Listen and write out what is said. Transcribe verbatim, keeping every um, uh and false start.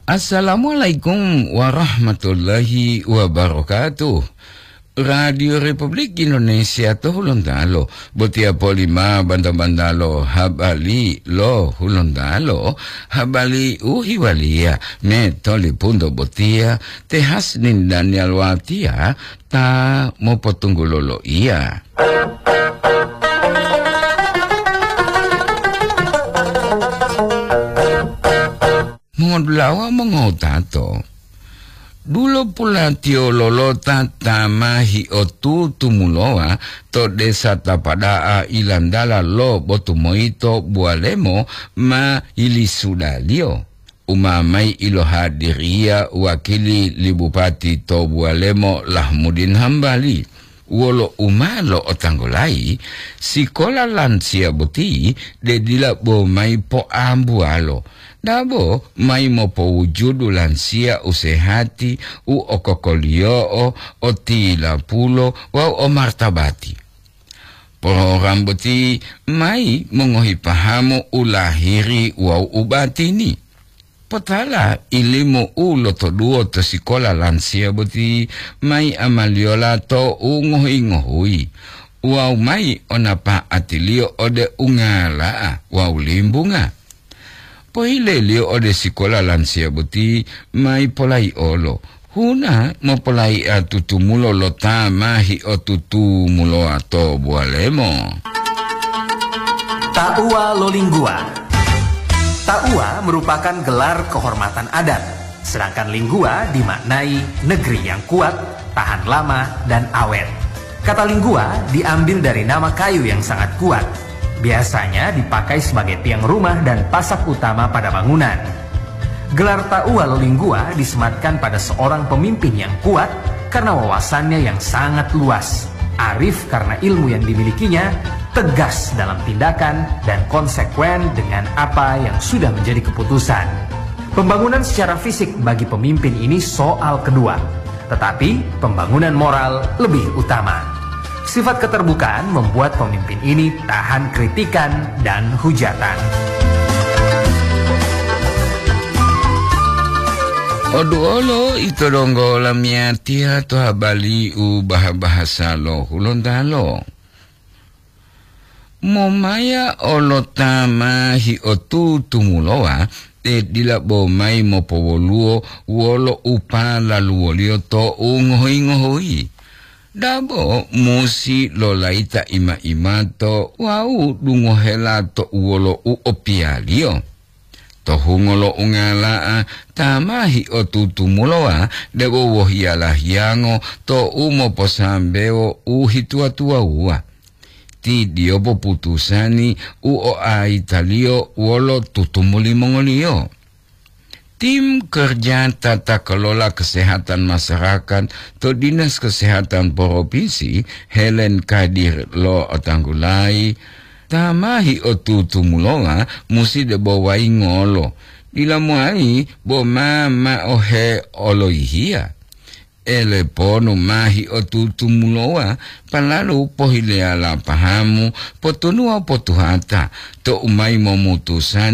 Assalamualaikum warahmatullahi wabarakatuh. Radio Republik Indonesia to Hulontalo, botiya polima banta-bantalo habari lo Hulontalo, habari u hiwaliya me tolipunto botiya, te Hasnin Daniel Watia ta mopotunggulo loiya. Mongodulawa mongowutato, dulo pulatiyo lolota ta ma hiotutumulowa to desa Tapada'a ilandala lo Botumoyito Buwalemo ma yilisudaliyo. Umamai ilohadiriya wakili li Bupati to Buwalemo Lahmudin Hambali. Wolo u ma lo'otanggulayi, sikola lansiya boti de dila bo mayi poambuwalo, dabo mayi mopowujudu lansiya u sehati, u okokoliyo'o, o tilapulo wawu o martabati. Program boti mayi mongohi pahamu u lahiri wawu u batini. Potala ilimu u lotoduwo to sikola lansiya boti mayi amaliyola to u ngohuyi-ngohuyi wawu mayi onapa'atiliyo ode ungala'a wawu limbunga. Pohileliyo ode sikola lansiya boti mayi polayi'olo, huna mopolayi'a tutumulo lo ta ma hiotutumulowa to Buwalemo. Ta'uwa lo Lingguwa. Ta'uwa merupakan gelar kehormatan adat, sedangkan Lingguwa dimaknai negeri yang kuat, tahan lama, dan awet. Kata Lingguwa diambil dari nama kayu yang sangat kuat. Biasanya dipakai sebagai tiang rumah dan pasak utama pada bangunan. Gelar Ta'uwa lo Lingguwa disematkan pada seorang pemimpin yang kuat karena wawasannya yang sangat luas, arif karena ilmu yang dimilikinya, tegas dalam tindakan, dan konsekuen dengan apa yang sudah menjadi keputusan. Pembangunan secara fisik bagi pemimpin ini soal kedua, tetapi pembangunan moral lebih utama. Sifat keterbukaan membuat pemimpin ini tahan kritikan dan hujatan. Oduolo ito donggo lamiyatiya to habari u baha-bahasa lo Hulontalo. Momaya olo ta ma hiotutumulowa, te dila bo mayi mopowoluwo wolo u palaluwoliyo to u ngohuyi-ngohuyi. Dabo musi lolayita ima-imato wawu dungohela to u wolo u opiyaliyo. To hungo lo ungala'a ta ma hiotutumulowa debo wohiyala hiyango to u moposambewo u hituwa-tuwawuwa. Ti diyopo putusani u oaitaliyo wolo tutumuli mongoliyo. Tim kerja tata kelola kesehatan masyarakat to Dinas Kesehatan Provinsi, Helen Kadir, lo'otanggulayi, ta ma hiotutumulowa musi debo wayingolo, dila mowali bo ma ma'ohe oloyihiya. Eleponu ma hiotutumulowa, palalu pohileyala pahamu, potunuwa potuhata, to u mayi momutusani